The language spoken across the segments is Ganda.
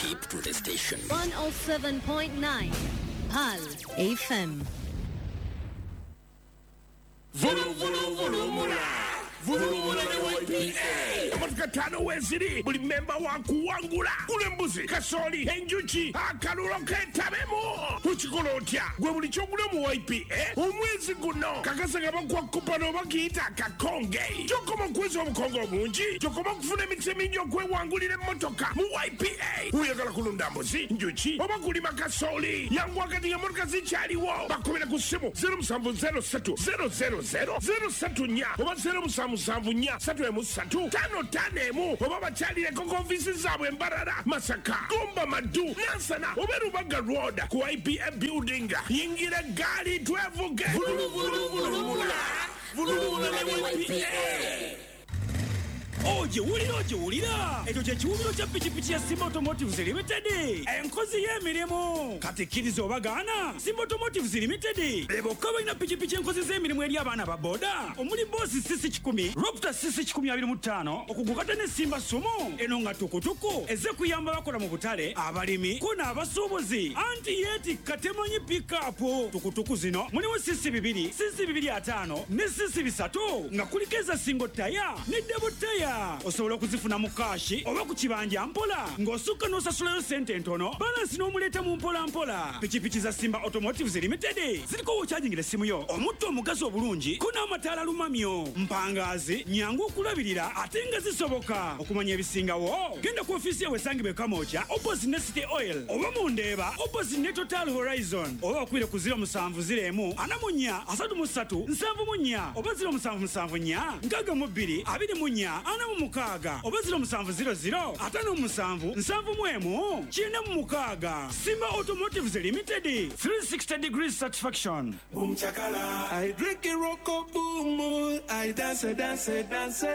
Keep to the station. 107.9 Pal FM. Vulu vulu vulumula vulumula ne YPA. Emotoka ttaano weeziri, buli memba wa kuwangula. Gula embuzi, kasooli, enjuki, akalulo ketabemu. Ukikola otya? Gwe buli kyogula mu YPA omwezi guno kakasa nga bakuwa kupano oba kiyita akakonge. Kyokoma okuweza obukonge obungi, kyokoma okufuna emikisa emingi okwewangulira emmotoka mu YPA. Oyagala kulunda mbuzi, njuki oba kulima kasooli, yanguwa kati ng'emmotoka zikyaliwo. Bakubira ku ssimu 0703 000 034 oba 0774 3 351 oba bakyalireko ku ofiisi zaabwe Mbarara, Masaka, Gomba, Maddu, Nansana oba Rubaga Road ku IPA building. Yingira eggaali twevuge. Vuluvuluvulumula vulumula ne YPA. Ogiwulira, ogiwulira, ekyo kye kiwubiro kya pikipiki ya Simba Automotives Limited, enkozi y'emirimu. Kati kkiriza oba gaana, Simba Automotives Limited be bokka balina pikipiki enkozi z'emirimu eri abaana ba boda, omuli Boss CC 100, Raptor CC 125, okugukata ne Simba Sumo eno nga tukutuku ezze kuyamba bakola mu butale, abalimi ko n'abasuubuzi, anti yeetikka temanyi pikapu. Tukutuku zino mulimu CC 2, CC 25 ne CC 3 nga kuliko eza single tire ne double tire. Osobola okuzifuna mu kashi oba ku kibanja mpola, ng'osukka n'osasulayo sente entono, balansi n'omuleeta mu mpola mpola. Pikipiki za Simba Automotives Limited ziriko w'okyajingira essimu yo, omutto omugazi obulungi ko n'amataala lumamyo, mpangaazi, nyangu okulabirira ate nga zisoboka. Okumanya ebisingawo genda ku ofiisi yaabwe esangibwa e Kamwokya opposite ne City Oil, oba mu Ndeeba opposite ne Total Horizon, oba bakubire ku 0701 44 33 74 oba 0774 62 24 46 oba 0700 57 71 96. Simba Automotives Limited, 360 degrees satisfaction. Boom chakala. I drink a rocko boom. I dance, dance, dance.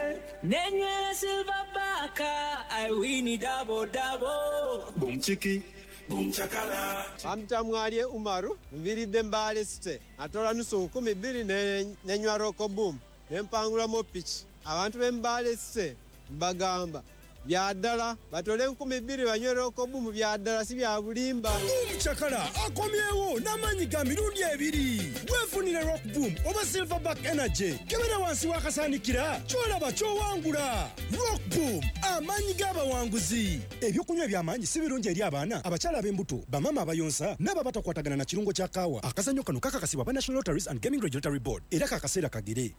Nenywera silver baka. I win it double double. Boom chiki. Boom chakala. Bamtamwalye Umaru, nviridde Mbale City. Atola nusu 2000 nenywa Roko Boom. Nempangulamu piki. Abantu b'e Mbale City mbagamba bya ddala, batole 2000 banywe Roko Boom, bya ddala si bya bulimba. Boom Chakala akomyewo n'amaanyi ga mirundi ebiri. Weefunire Rock Boom oba Silverback Energy. Kebera wansi w'akasaanikira ky'olaba ky'owangula. Rock Boom, amaanyi g'abawanguzi. Ebyokunywa eby'amaanyi si birungi eri abaana, abakyala ab'embuto, bamaama abayonsa n'abo abatakwatagana na kirungo kya kaawa. Akazannyo kano kakakasibwa aba National Lotteries and Gaming Regulatory Board era kakaseera kagere.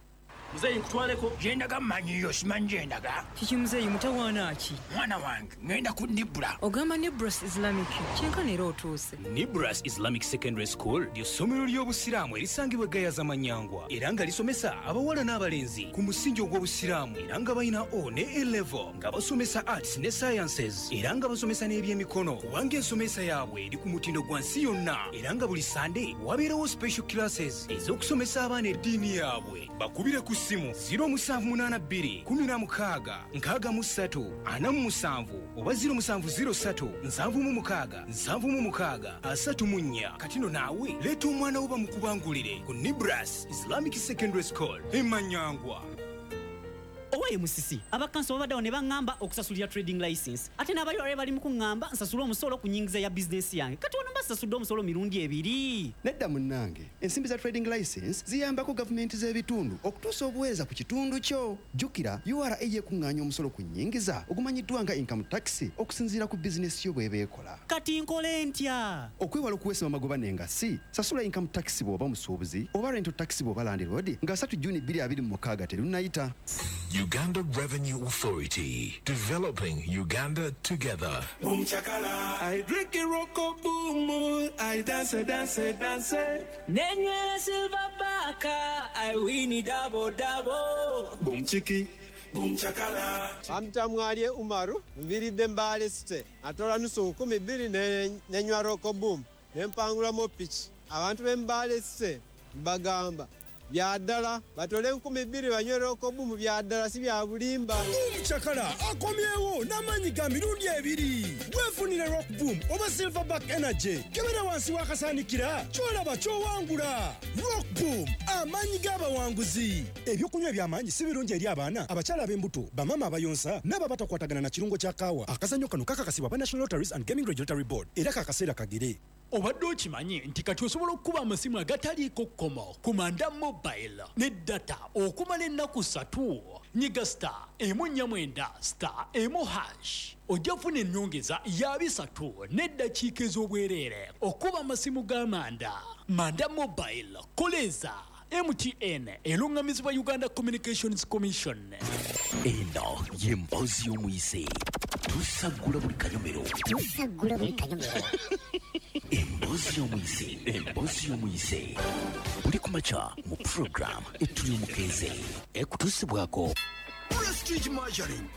Muzeeyi, nkutwaleko gyendaga, mmanyiyo, simanyi gyendaga. Kiki muzeeyi, mutawaana ki? Mwana wange, ŋŋenda ku Nibra. Ogamba Nibras Islamic, kyenkana era otuuse. Nibras Islamic Secondary School ly'essomero ly'obusiraamu erisangibwa e Gayaza Manyangwa, era nga lisomesa abawala n'abalenzi ku musingi ogw'obusiraamu, era nga balina O ne A level, nga basomesa arts ne sciences, era nga basomesa n'ebyemikono, kubanga ensomesa yaabwe eri ku mutindo gwa nsi yonna, era nga buli Sande wabeerawo special classes ez'okusomesa abaana eddiini yaabwe. Bakubire ku ssimu 0782 16 63 47 oba 0703 76 76 34. Kati no naawe leeta omwana wo bamukubangulire ku Nibras Islamic Secondary School e Manyangwa. Owaye Musisi, abakanso babaddewo ne baŋŋamba okusasulira trading license, ate n'abayora bali mu kuŋŋamba nsasule omusolo ku nnyingiza ya bizinesi yange. Kati wano mba sasudde omusolo mirundi ebiri. Nedda munnange, ensimbi za trading license ziyambako gavumenti z'ebitundu okutuusa obuweereza ku kitundu kyo. Jjukira URA yekuŋŋaanya omusolo ku nnyingiza ogumanyiddwa nga income tax okusinziira ku bizinesi yo bw'eba ekola. Kati nkole ntya? Okwewala okuweesebwa amagoba n'engassi, sasula income tax bw'oba musuubuzi oba rental tax bw'oba landlord nga 3 Juni 2026 terunnayita. Uganda Revenue Authority, developing Uganda together. Boom chakala. I drink a rocko boom. I dance, dance, dance. Nenywera silver baka. I win it double double. Boom chiki. Boom chakala. Bamtamwalye Umaru, nviridde Mbale City. Atola nusu 2000 nenywa Roko Boom. Nempangulamu piki. Abantu b'e Mbale City mbagamba bya ddala, batole 2000 banywe Roko Boom, bya ddala si bya bulimba. Boom Omucakala akomyewo n'amaanyi ga mirundi ebiri. Weefunire Rock Boom oba Silverback Energy. Kebera wansi w'akasaanikira ky'olaba ky'owangula. Rock Boom, amaanyi g'abawanguzi. Ebyokunywa eby'amaanyi si birungi eri abaana, abakyala ab'embuto, bamaama abayonsa n'abo abatakwatagana na kirungo kya kaawa. Akazannyo kano kakakasibwa aba National Lotteries and Gaming Regulatory Board era kakaseera kagere. Obadde okimanyi nti kati osobola okukuba amasimu agataliiko kkomo ku Manda Mobile ne data okumala ennaku 3? Nyiga *149*1# ojja kufuna ennyongeza ya 3 n'eddakiika ez'obwereere okuba amasimu ga Manda. Manda Mobile, koleza MTN eruŋŋamizibwa Uganda Communications Commission. Eno ye mboozi y'omuyise. Tusaggula buli kanyomero. Tusaggula buli kanyomero. Emboozi y'omuyise. Emboozi y'omuyise. Buli kumakya mu program Etuli Omukeeze. Ekutuusibwako Prestige Margarine.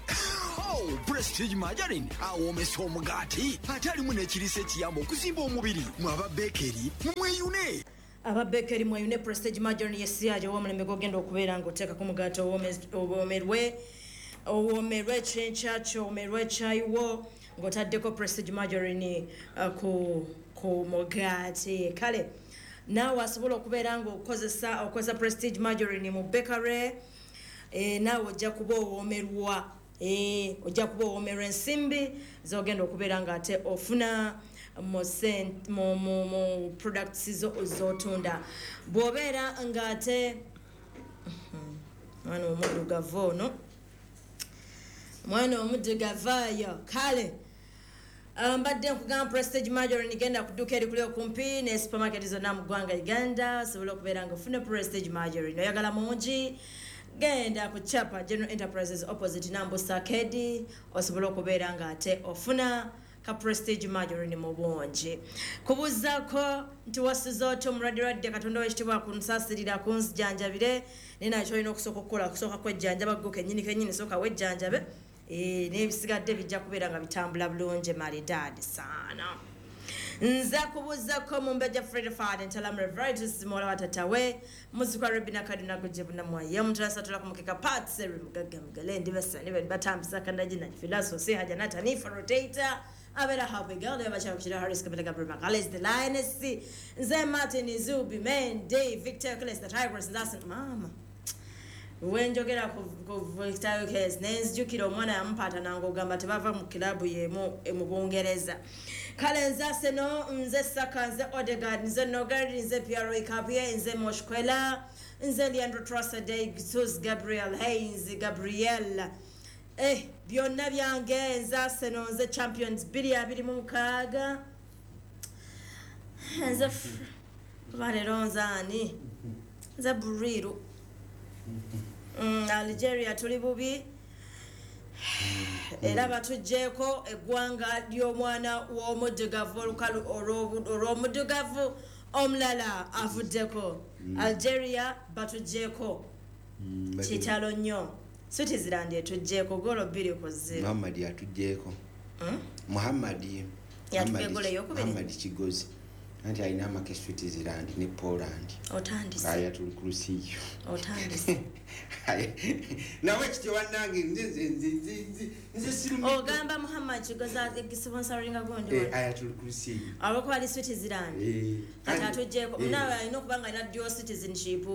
Oh, Prestige Margarine awoomesa omugaati ate alimu n'ekiriisa ekiyamba okuzimba omubiri. Mwe aba bekeri mumweyune. Aba bekeri mweyune Prestige Margarine yesiyaje ow'omulembe gw'ogenda okubeera ng'oteekako omugaati owoomerwe owoomerwe ekyenkya owoomerwe ekyayiwo ng'otaddeko Prestige Margarine ku mugaati. Kale naawe asobola okubeera ng'okozesa okozesa Prestige Margarine mu bakery, naawe ojja kuba owoomerwa, ojja kuba owoomerwa ensimbi z'ogenda okubeera ng'ate ofuna mu products z'otunda. Bw'obeera ng'ate mwana omuddugavu ono, mwana omuddugavu ayo. Kale mbadde nkugamba Prestige Margarine genda ku dduuka erikuli okumpi ne supermarket zonna mu ggwanga Uganda osobola okubeera ng'ofuna Prestige Margarine. Oyagala mungi, genda ku Chapa General Enterprises opposite Nambusa Arcade osobola okubeera ng'ate ofuna ka Prestige Margarine mu bungi. Kubuuzaako nti wasiza otya omulwadde, Katonda w'ekitiibwa akunsaasirira akunzijanjabire, naye nakyo olina okusooka okukola kusooka kwejjanjaba ggwe kennyini kennyini, sooka wejjanjabe, n'ebisigadde bijja kubeera nga bitambula bulungi malidaadi saana. Nze kubuuzaako Mumbejja Fred Fad Ntalamu Reveritus muwala wa tatawe muzikwa Rebina Kaduna Gujebunamwaye omutulasatula ku mukeka Parts eri mugagga mugale ndi basani batambisa kandagi na filaso haja natanifa rotator abeera happy girl abakyala kukira Harris Kabila Gabriel Magales the Lioness nze Martin Zubi Mende Victor Claes the Tigress that's mama wenjogera ku Victor Claes nenzijukira omwana yamupaata nangogamba tebava mu kilabu yemu mu Bungereza. Kale nze Arsenal, nze Saka, nze Odegaard, nze Nogard, nze Pierre Kapie, nze Moshkwela, nze Leandro Trossard, Jesus Gabriel Hayes, Gabriel. Byonna byange nze Arsenal, nze Champions 2026. Nze leero nze ani? Nze Buriru. Algeria tuli bubi. Era batuggyeko eggwanga ly'omwana w'omuddugavu olukalu olw'omuddugavu omulala avuddeko. Algeria batuggyeko. Kitalo nnyo. Switzerland etuggyeko ggoolo 2-0. Muhammad atuggyeko. Muhammad Muhammad Kigozi. Anti alina amaka e Switzerland ne Poland. Otandise. Aya tuli ku lusiyo. Otandise. Nawe kityo bannange nze sirumi. Ogamba Muhammad Kigozi sponsoringa gundi. Aya tuli ku lusiyo. Olwokuba ali Switzerland. Kati atuggyeko. Munaawe alina okuba nga alina dual citizenship.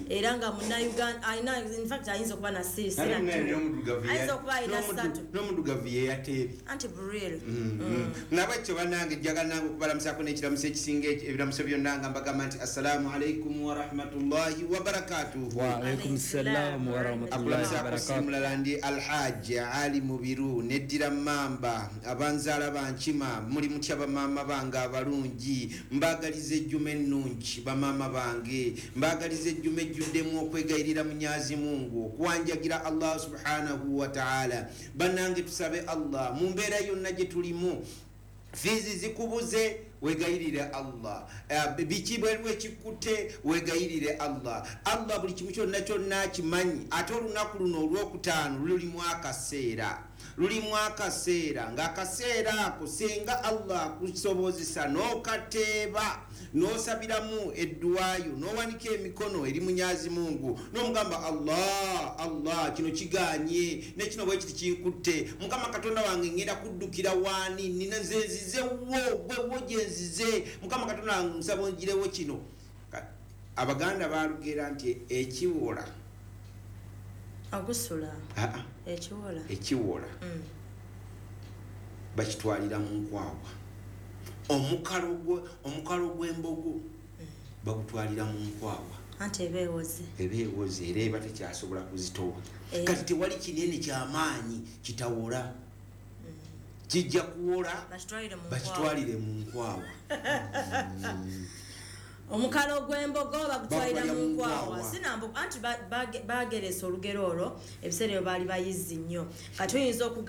Era nga munna-Uganda alina, in fact ayinza okuba na sisi. Ayinza okuba alina 3. N'omuddugavu ye yateebye. Anti Buril. Nawe kityo bannange njagala nange okubalamusaako n'ekiramuso ekisinga ebiramuso byonna nga mbagamba nti assalamu alaikum warahmatullahi wabarakatuhu. Wa alaikum salam warahmatullahi wabarakatuh. Mulala ndi Alhaji Ali Mubiru neddira Mamba abanzaala bankima muli mutya bamaama bange abalungi, mbaagaliza ejjuma ennungi bamaama bange, mbaagaliza ejjuma ejjuddemu okwegayirira Munyazi Mungu okuwanjagira Allah subhanahu wa ta'ala. Bannange tusabe Allah mu mbeera yonna gye tulimu, fiizi zikubuze, Wegayirire Allah. Biki bweriwo ekikutte, wegayirire Allah. Allah buli kimu kyonna kyonna akimanyi. Ate olunaku luno olwokutaano lulimu akaseera, lulimu akaseera, ng'akaseera ako singa Allah akusobozesa n'okateeba, n'osabiramu edduwayo, n'owanika emikono eri Munyazi Mungu, n'omugamba Allah, Allah, kino kiganye ne kino bwe kiti kinkutte, Mukama Katonda wange ngenda kuddukira waani? Nina nze nzize wo, gwe wo gye nzize, Mukama Katonda wange nsaba ongirewo kino. Abaganda balugera nti ekiwola agusula. Aa. Ekiwola. Ekiwola bakitwalira mu nkwawa. Omukalo gw'embogo bagutwalira mu nkwawa. Anti eba ewoze. Eba ewoze era eba tekyasobola kuzitowa. Kati tewali kinene kyamaanyi kitawola, kijja kuwola, bakitwalire mu nkwawa. Bakitwalire mu nkwawa. Omukalo gw'embogo bagutwalira Bagutwalira mu mu nkwawa. nkwawa. Sinambo anti bageresa olugero olwo ebiseera ebyo baali bayizi nnyo. Kati oyinza okugamba